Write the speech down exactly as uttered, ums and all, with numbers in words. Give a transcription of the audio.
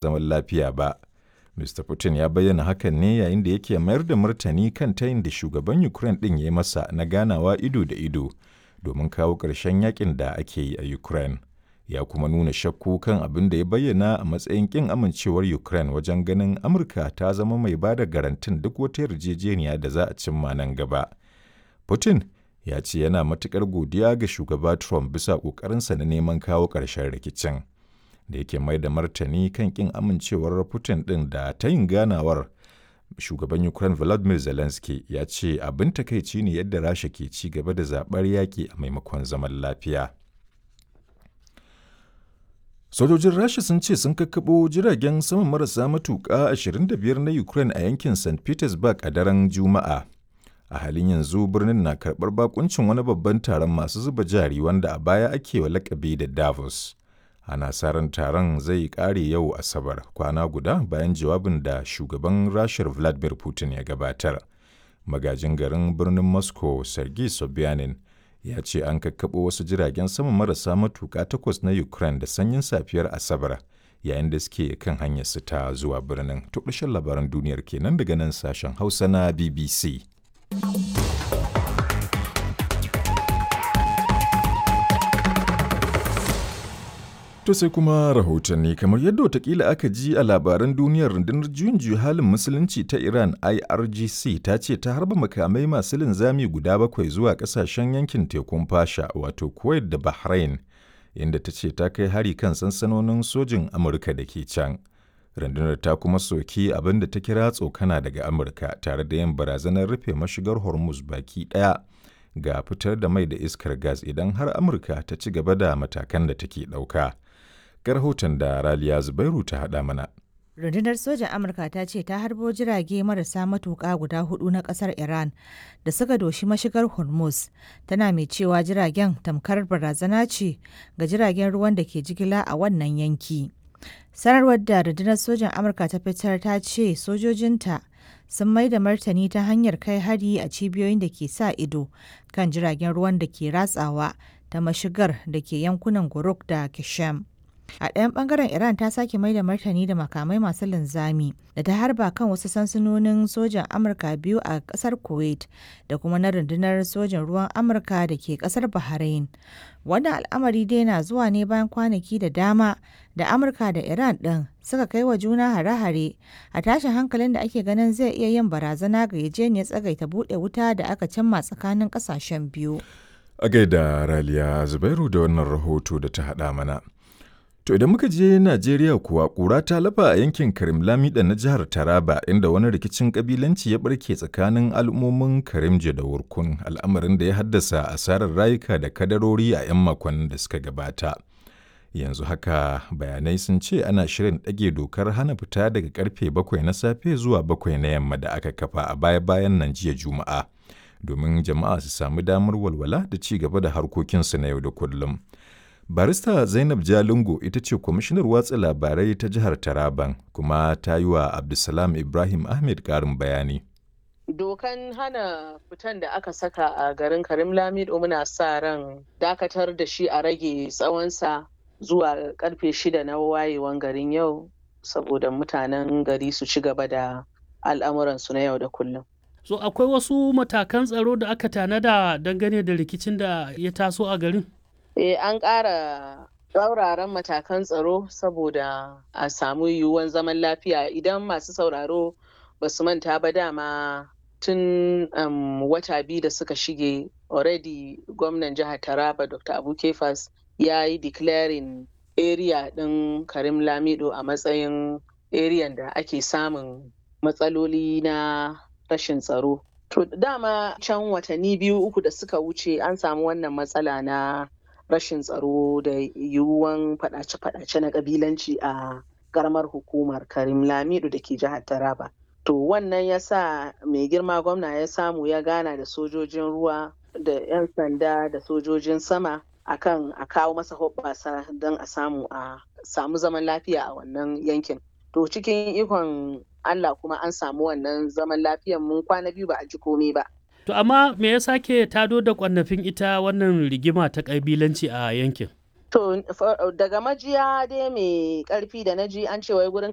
zaman lafiya ba. Mista Putin ya bayyana hakan ne yayin da yake mayar da martani kan tayin da shugaban Ukraine ɗin ya yi masa na ganawa ido da ido domin kawo ƙarshen yakin da ake yi a Ukraine. Ya kuma nuna shakku kan abin da ya bayyana a matsayin ƙin amincewar Ukraine wajen ganin Amurka ta zama mai ba da garantin duk wata yarjejeniya da za a cimma nan gaba. Putin ya ce yana matuƙar godiya ga shugaba Trump bisa ƙoƙarinsa na neman kawo ƙarshen rikicin. Da yake mai da martani kan ƙin amincewar Putin ɗin da tayin ganawar, shugaban Ukraine Volodymyr Zelensky ya ce abin takaici ne yadda Rasha ke ci gaba da zaɓar yaƙi a maimakon zaman lafiya. Sojojin Rasha sun ce sun kakkaɓo jiragen sama marasa matuƙa ashirin da biyar na Ukraine a yankin Saint Petersburg a daren Juma'a. A halin yanzu birnin na karɓar bakuncin wani babban taron masu zuba jari wanda a baya ake wa lakabi da Davos. Ana sa ran taron zai ƙare yau Asabar, kwana guda bayan jawabin da shugaban Rashar Vladimir Putin ya gabatar. Magajin garin birnin Moscow, Sergei Sobyanin, ya ce an kakkaɓo wasu jiragen sama marasa matuƙa takwas na Ukraine da sanyin safiyar Asabar yayin da suke kan hanyarsu ta zuwa birnin. To ƙarshen labaran duniyar kenan daga nan sashen Hausa na B B C. To sai kuma rahotanni. Kamar yadda watakila aka ji a labaran duniyar, rundunar juyin juya halin musulunci ta Iran I R G C ta ce ta harba makamai masu linzami guda bakwai zuwa kasashen yankin tekun Fasha, wato Kuwait da Bahrain, inda ta ce ta kai hari kan sansanonin sojin Amurka da ke can. Rundunar ta kuma soki abin da ta kira tsokana daga Amurka tare da yin barazanar rufe mashigar Hormuz baki ɗaya ga fitar da mai da iskar gas idan har Amurka ta ci gaba da matakan da take ɗauka. Ga rahoton da Raliya Zubairu ta haɗa mana. Rundunar sojan Amurka ta ce ta harbo jirage marasa matuƙa guda hudu na ƙasar Iran da suka doshi mashigar Hormuz, tana mai cewa jiragen tamkar barazana ce ga jiragen ruwan da ke jigila a wannan yanki. Sanarwar da rundunar sojan Amurka ta fitar ta ce sojojinta sun mai da martani ta hanyar kai hari a cibiyoyin da ke sa ido kan jiragen ruwan da ke ratsawa ta mashigar da ke yankunan Guruk da Kishem. A ɗayan ɓangaren, Iran ta sake mai da martani da makamai masu linzami da ta harba kan wasu sansanonin sojan Amurka biyu a ƙasar Kuwait da kuma na rundunar sojan ruwan Amurka da ke ƙasar Bahrain. Wannan al'amari dai na zuwa ne bayan kwanaki da dama da Amurka da Iran ɗin suka kai wa juna hare-hare a tashin hankalin da ake ganin zai iya yin barazana ga yarjejeniyar tsagaita buɗe wuta da aka cimma tsakanin ƙasashen biyu. A gaida Raliya Zubairu da wannan rahoto da ta haɗa mana. To idan muka je Najeriya kuwa, ƙura ta lafa a yankin Karim Lamida na jihar Taraba, inda wani rikicin kabilanci ya barke tsakanin al'ummomin Karimje da Wurkun, al'amarin da ya haddasa asarar rayuka da kadarori a 'yan makonnin da suka gabata. Yanzu haka bayanai sun ce ana shirin ɗage dokar hana fita daga karfe bakwai na safe zuwa bakwai na yamma da aka kafa a baya-bayan nan jiya Juma'a, domin jama'a su sami damar walwala da ci gaba da harkokinsu na yau da kullum. Barista Zainab Jalingo ita ce kwamishinar watsa labarai ta jihar Taraban, kuma ta yi wa Abdulsalam Ibrahim Ahmed ƙarin bayani. Dokan hana fitan da aka saka a garin Karim Lamido, muna sa ran dakatar da shi a rage tsawonsa zuwa karfe shida na wayewan garin yau, saboda mutanen gari su ci gaba da al'amuransu na yau da kullum. So akwai wasu matakan tsaro da aka tanada dangane da rikicin da ya taso a garin? Eh, an ƙara tsauraran matakan tsaro saboda a samu yiwuwan zaman lafiya. Idan masu sauraro ba su manta ba, dama tun um, wata biyu da suka shige, already gwamnan jihar Taraba, Doctor Abu Kefas, ya yi declaring area ɗin Karim Lamido a matsayin area da ake samun matsaloli na rashin tsaro. To dama can watanni biyu uku da suka wuce an samu wannan matsala na rashin tsaro da yiwuwan fadace-fadace na kabilanci a karamar hukumar Karim Lamido da ke jihar Taraba. To wannan ya sa mai girma gwamna ya samu ya gana da sojojin ruwa da 'yan sanda da sojojin sama akan a kawo masa hoɓɓasa don a samu a samu zaman lafiya a wannan yankin. To cikin ikon Allah kuma an samu wannan zaman lafiyan, mun kwana biyu ba a ji komai ba. To amma me ya sake tado da kwannafin ita wannan rigima ta kabilanci a yankin? To daga majiya dai mai karfi da naji an ce wai gurin